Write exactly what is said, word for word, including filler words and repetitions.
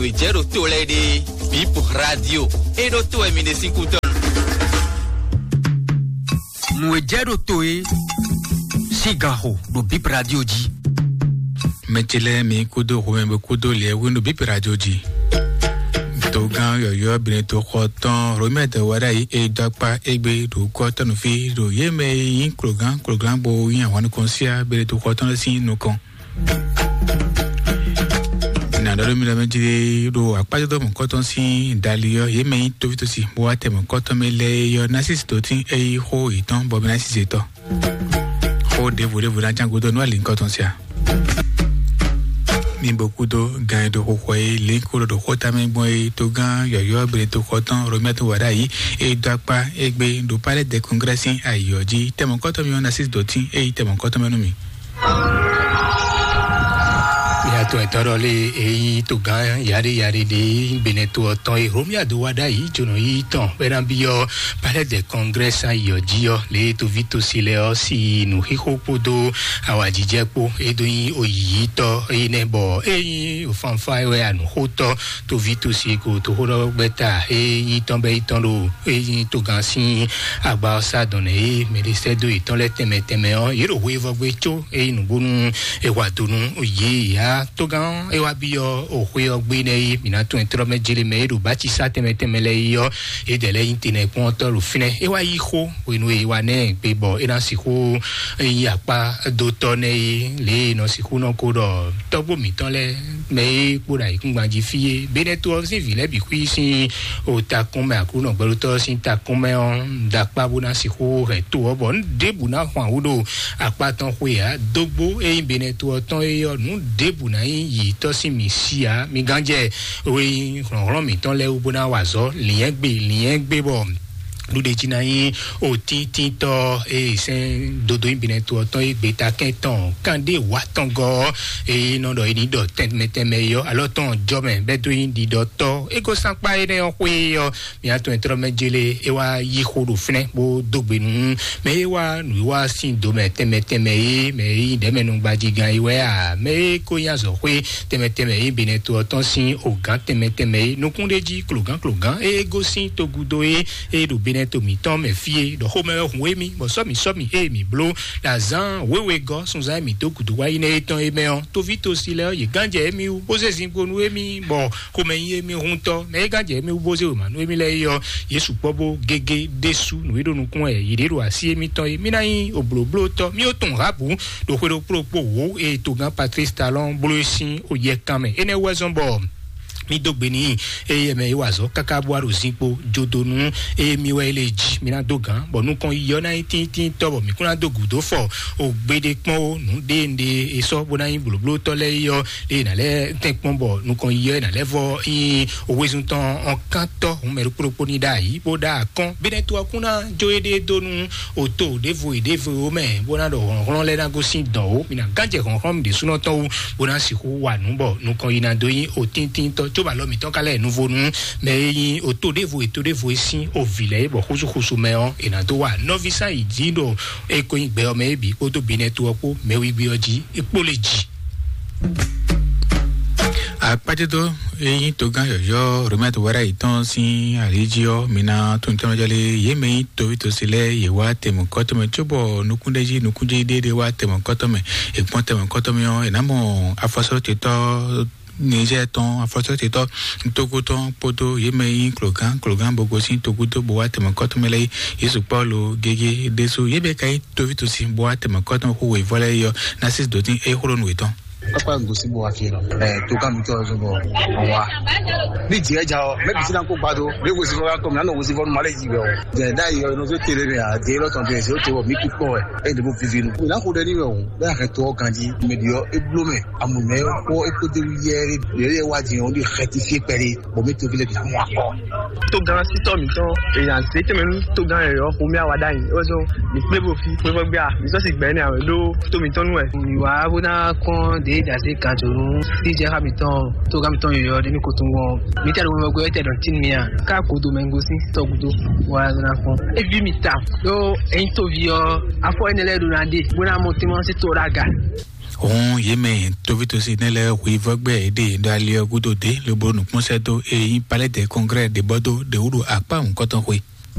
Nǔ e jɛ ɖo to lɛ́ɛ ɖe, Bip Radio. É ɖó to wɛ mi ɖe sín kútɔ́. Nǔ e jɛ ɖo to é sín ganxo ɖo Bip Radio jí. Mɛ ce lɛ́ɛ mi kúdó xomɛ bó kúdó lɛ̌wú ɖo Bip Radio jí. Togán yɔ̌yɔ́ Benito xɔ tɔn Romɛd Wadayi e dó akpá égbé ɖo kɔ́tɔ́núfí ɖo yě mɛ e nyí klogán klogán bó nyí ahwan nukɔn síá Benito xɔ tɔn lɛ́ɛ sín nukɔn. Nǎ ɖɔ ɖó mi ɖɔ mɛ jí ɖo akpájɔdɔmɔ kɔ́tɔn sín dali ɔ́, yě mɛ nyí tóvítósi bó wá tɛmɛ kɔ́tɔn mɛ lɛ́ɛ é ɔ́, ná sísí dǒtín é yí xó yětɔn bɔ mɛ ná sísí tɔn. Xó ɖěvo ɖěvo ná cán gúdo nú alǐnkɔ́tɔn sia. Mi bo kúdó gan e ɖo xixɔ e lǐnkó ɖo ɖo xóta mɛ gbɔn e togán yɔ̌yɔ́ Benito xɔ tɔn Romɛto Wadayi e dó akpá égbé ɖo Palais des Congrès sín ayǐ ɔ́ jí. Tɛmɔkɔ́tɔn mi ɔ́ ná sí dǒtín e yí tɛmɔkɔ́tɔn mɛ nú mi. Mia tɔn ɛtɔ́ ɖɔ lé e nyí togán yaɖé yaɖé ɖé Benito ɔ́ tɔn e Romia do Wadayi jónɔ yí tɔn bɔ é ná byɔ́ Palais des Congrès ayǐ ɔ́ jí ɔ́, lě e toví tosi lɛ́ɛ ɔ́ sí nǔxixo kpódó awǎjijɛ kpó e dó nyí oyǐyítɔ́ énɛ́ bɔ é nyí fanfá wɛ anǔxótɔ́ toví tosi e ko toxóɖɔgbɛ́ta e nyí tɔn bɛ́ yi tɔn ɖo e nyí togán sín agba ɔ́ sá dɔn nɛ e mɛ ɖé sɛ́ dó yětɔn lɛ́ɛ tɛnmɛ tɛnmɛ ɔ́, yě ɖo hweyivɔ́gbé có é nyí nǔgbónú è wa do nú yě ǎ. Togán ɔ́ é wá byɔ́ o xwé ɔ́ gbé nɛ́ é mǐ ná tunwun tlɔ́ mɛ jlé mɛ é ɖo bácisá tɛnmɛ tɛnmɛ lɛ́ɛ yi ɔ́, é dɛ̌ lɛ́ nyí tenɛkpɔ́ntɔ́ ɖo fínɛ́. É wá yí xó hwenu e é wá nɛ́ gbe bɔ é ná sixú nyí akpádótɔ́ nɛ́ é lě e è nɔ sixú nɔ ko ɖɔ tɔ́gbó mǐtɔn lɛ́ɛ mɛ e kpo ɖo ayǐkúngban jí fí é. Benɛto ɔ́ sín vǐ lɛ́ɛ bǐ xwí sín o takún mɛ Aklúnɔ gbɛɖótɔ́ ɔ́ sín takún mɛ ɔ́, un da akpá bó ná sixú hɛn to ɔ́ bɔ nǔ ɖěbǔ ná hwan wú ɖo akpá tɔn xwe ǎ. Dógbó e nyí Benɛto ɔ́ tɔn é ɔ́, nǔ ɖěbǔ ná nyí yǐtɔ́ sín mǐ sí ǎ. Mi gánjɛ we nyí hlɔ̌nhlɔ́n mǐtɔn lɛ́ɛ wú bó ná wa azɔ̌ lǐnyɛ́gbe lǐnyɛ́gbe bɔ ɖuɖe jí ná nyí otíntítɔ́ e sɛ́n dodó nyí Benɛto ɔ́ tɔn e gbeta kɛn tɔn kanɖé wǎ tɔn gɔ́ ɔ́, e nɔ ɖɔ é ní ɖɔ tɛnmɛ tɛnmɛ é ɔ́, alɔ tɔn jɔ mɛ bɛ́ dó nyí ɖiɖɔtɔ́. É gosán kpá énɛ́ ɔ́ xwé ɔ́, mǐ atɔn e tlɔ́ mɛ jélé é wá yí xó ɖo fínɛ́ bó dó gbe nú mɛ e wá nǔwiwa sín do mɛ tɛnmɛ tɛnmɛ é, mɛ e nyí ɖɛ̌mɛnúgbajigán é wɛ a, mɛ e ko nyí azɔ̌xwé tɛnmɛ tɛnmɛ é Benɛto ɔ́ tɔn sín ogǎn tɛnmɛ tɛnmɛ é, nukún ɖé jí klogán klogán e gosín togúdo é e ɖo Benɛto mǐtɔn mɛ fí é, ɖɔ xomɛ wɛ hun émí bɔ sɔ́ mǐ sɔ́ mǐ ée mǐ bló ɖo azǎn wěwe gɔ́ sunzán e mǐ dó gǔdo wá yi nɛ́ é tɔn é mɛ ɔ́, toví tosi lɛ́ɛ ɔ́, yě gán jɛ émí wú bó zé zinkpo nú émí bɔ xomɛ nyí émí huntɔ́, mɛ e gán jɛ émí wú bó zé wěma nú émí lɛ́ɛ é ɔ́, yě sukpɔ́ bó gégé ɖésú nǔ e ɖo nukún wɛ yě ɖe ɖo así émítɔn é. Mí ná nyí oblǒblótɔ́, mí ó tunwun Rabu ɖo xwe ɖokpó ɖokpó wǒ e togán Patrice Talon bló é sín oyɛkan mɛ. Énɛ́ wú wɛ zɔ́n bɔ mí dó gbe n'i, eye mɛ yi wa azɔ̌ káká bó wá ɖo zinkpo jódonu, eye mí wɛ é lé jí mí ná dó gǎn, bɔ nukɔn yiyɔ ná nyí tíntínntɔ́, bɔ mǐ kún ná dó gǔdo fɔ o gbeɖé kpɔ́n ó nǔ ɖé nɖe è sɔ́ bó ná nyí blǒblótɔ́ lɛ́ɛ yɔ, eye nǎ lɛ́ tɛ́n kpɔ́n bɔ nukɔn yiyɔ é nǎ lɛ́ vɔ nyí o wezun tɔn ɔ́ kántɔ́ hun mɛ ɖokpó ɖokpó ní ɖ'ayǐ bó ɖ'akɔ́n. Benɛto ɔ́ kún ná jó éɖée dó nú o to ɖěvo e ɖěvo mɛ bó ná ɖɔ hlɔ̌nhlɔ́n lɛ́ɛ ná gosín dɔ̌n ó. Mǐ ná gán jɛ hlɔ̌nhlɔ́n mǐ ɖésúnɔ tɔn wú bó ná sixú wa nǔ bɔ nukɔn yi ná dó nyí o tíntínntɔ́, cóbɔ alɔ mǐtɔn ka lɛ́ nuvo nú mɛ e nyí o to ɖěvo e to ɖěvo e sín o vǐ lɛ́ɛ é, bɔ xúsúxúsú mɛ ɔ́, è nǎ dó wa nɔví sán yi jí ɖo e ko nyí gbɛ ɔ́ mɛ é bǐ kpódó Benɛto ɔ́ kpó mɛ wígbí ɔ́ jí é kpó lě jí. Akpájɛdó e nyí togán yɔ̌yɔ́ Romɛto Wɛrɛ yětɔn sín alǐ jí ɔ́, mi ná tunwun tɔnmɛjɔlé yě mɛ nyí toví tosi lɛ́ɛ yě wá tɛmɔkɔ́tɔ́ mɛ, cóbɔ nukúnɖéjí nukúnjí ɖéɖé wá tɛmɔkɔ́tɔ́ mɛ. È kpɔ́n tɛmɔkɔ́tɔ́ mɛ ɔ́, è nǎ mɔ afɔsɔ́ ce tɔ́ Niger tɔn afɔsɔ́ ce tɔn Togo tɔn kpódó yě mɛ nyí klogán klogán bó gosín togúdo bó wá tɛmɔkɔ́tɔ́ mɛ lɛ́ɛ yí. Yesu Pɔ́lu gégé ɖésú yě mɛ ka nyí toví tosi bó wá tɛmɔkɔ́tɔ́ xó wěvɔ́ lɛ́ɛ yí ɔ́, ná sí dǒtín é xó ɖó nǔ yětɔn. Papa n gosi bɔ wa fi nɔ. Ɛ to ka mi tɔ so bɔ wa. Ni diɛ ja o, mɛ bisi na ko gba do. Ne gosi fɔ ka kɔ mi na nɔ gosi fɔ ma le ji bɛ o. Jɛ da yi o no so tele mi a de lɔ tɔn bɛ se o to mi ku kpɔ wɛ. E de bo vivi nu. Na ko de ni mɛ o. Bɛ a kɛ to ganji. Mɛ di yɔ e blo mɛ. Amu mɛ ko e ko de wu yɛ de yɛ wa di o de xɛ ti fi pɛ de. Bɔ mi to bi le bi amu akɔ. Togán sítɔ mítɔn èèyàn zé tɛmɛ nú togán yɔyɔ xomí àwa ɖ'ayǐ wɛzɔ mi kplé bo fi xwé vɔ gbé a mi sɔ́ si gbɛ ní àwẹ̀ ɖó tó mítɔn nú ɛ. Mi wá bó ná kɔn dé dasé kan tó nú sí jẹ́ xá mítɔn togán mítɔn yɔyɔ ɖé ní kotun wɔ mi tẹ ló wọ gbé tẹ dɔn tí mi a ká kodo mɛ gosí tɔgudo wá ló ná kɔn. Evi mi ta ɖó ẹyin tóbi ɔ afɔ ẹni lɛ ɖo na ɖe bó ná mọ tí wọn sì tó ɖa ga. Hɔn yě mɛ tóvítósi nɛ́ lɛ́ɛ hwivɔ́gbɛ́ yě ɖe ɖo ali ɔ́ gúdo dě lobo nǔkpɔ́nsɛ́ dó e nyí palɛ́dɛ kɔngrɛ́ ɖě bɔ dó ɖě wú ɖo akpá nǔkɔtɔn xwe.